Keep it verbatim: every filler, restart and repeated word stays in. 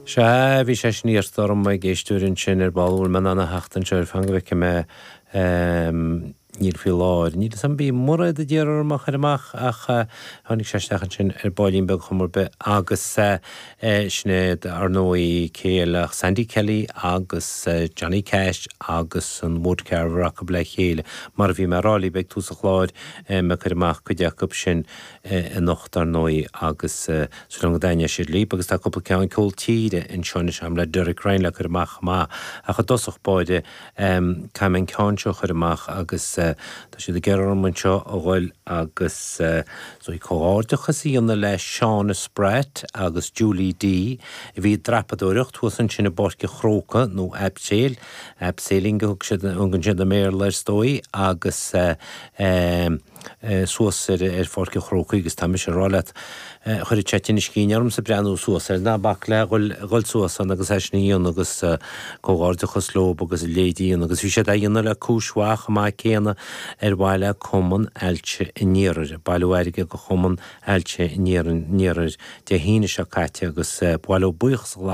Sea, bhí sé sin iarrta orm ag éisteoir ansin ar ball, bhfuil mé in ann a theacht anseo ar fan go bhfeicfidh mé níl faoi láthair. Níl 'fhios a'm bhí Mairéad a d'iarr orm a chur amach ach tháinig sé isteach ansin ar baillín beag chuma ar bith agus sin iad ar ndóigh cé eile ach Sandy Kelly agus Johnny Cash agus an Woodcarver acu le chéile. Mar a bhí mé a rá libh ag tús an chláir mé ag cur amach cuid acu sin anocht ar ndóigh agus súil agam go dtaitneoidh siad libh agus tá cúpla ceann ceol tíre anseo anois agam le Derek Ryan le cur amach chomh maith ach i dtosach báire caithfidh mé an ceann seo a chur amach agus tá siad ag iarraidh orm anseo a dhul agus so comhghairdeachas a dhéanamh le Shauna Spratt agus Julie D a bhí ag dreapadóireacht thuas ansin i bPáirc an Chrócaigh nó abseil, abseiling a thug siad thugann siad i mBéarla ar ndóigh agus suas ar ar Pháirc an Chrócaigh agus tá mise ag rá leat chuirfeadh sé tinneas cinn ormsa breathnú suas air ná bac le dhul dhul suas ann agus é sin a dhéanamh agus comhghairdeachas leo agus a leithéid a dhéanamh agus bhí siad á dhéanamh le cúis mhaith chomh maith céanna ar mhaithe le Cumann Ailse an Iarthair, bailiú airgid do Chumann Ailse an Iarthair Dé hAoine seo caite agus ba mhaith leo buíochas a ghlacadh